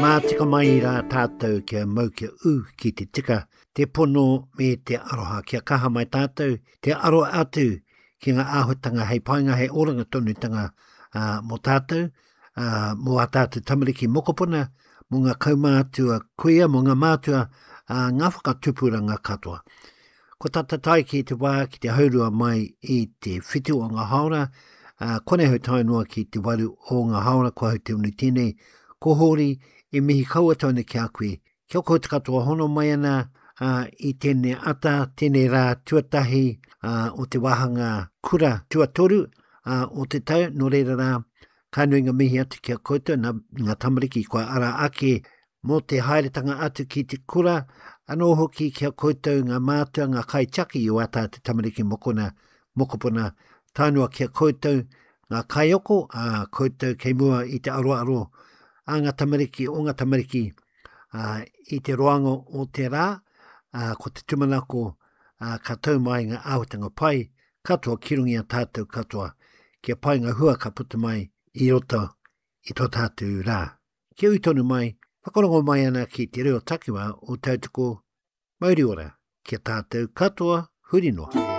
Mā tika mai rā tātou kia mau kia ū ki te tika, te pono me te aroha. Kia kaha mai tātou te aro atu ki ngā āhuatanga hei painga, hei oranga tonutanga ā, mō tātou, ā, mō ā tātou tamariki mokopuna, mō ngā kaumātua kuia, mō ngā mātua, ā, ngā whakatupuranga katoa. Ko tata tae ki te wā ki te haurua mai i te whitu o ngā haora, ā, konei hau tae noa ki te waru o ngā haora ko hau te unu tēnei, ko Hōri e mihi kau atu ana ki a koe. Kia koutou katoa hono mai ana ā, i tēnei ata, tēnei rā tuatahi ā, o te wāhanga kura tuatoru ā, o te tau, nō reira rā, ka nui ngā mihi atu ki a koutou, nā, ngā tamariki kua ara ake mō te haeretanga atu ki te kura, anō hoki ki a koutou ngā mātua, ngā kaitiaki o ā tātou tamariki mokona, mokopuna, tae noa ki a koutou ngā kaiako, ā, koutou kei mua i te aroaro a ngā tamariki, o ngā tamariki, ā, i te roanga o te rā, ā, ko te tūmanako, ā, ka tau mai ngā āhuatanga pai katoa ki runga i a tātou katoa, kia pai ngā hua ka puta mai i roto i tō tātou rā. Kia ū tonu mai, whakarongo mai ana ki te reo takiwā o Tautoko Mauri ora ki a tātou katoa huri noa.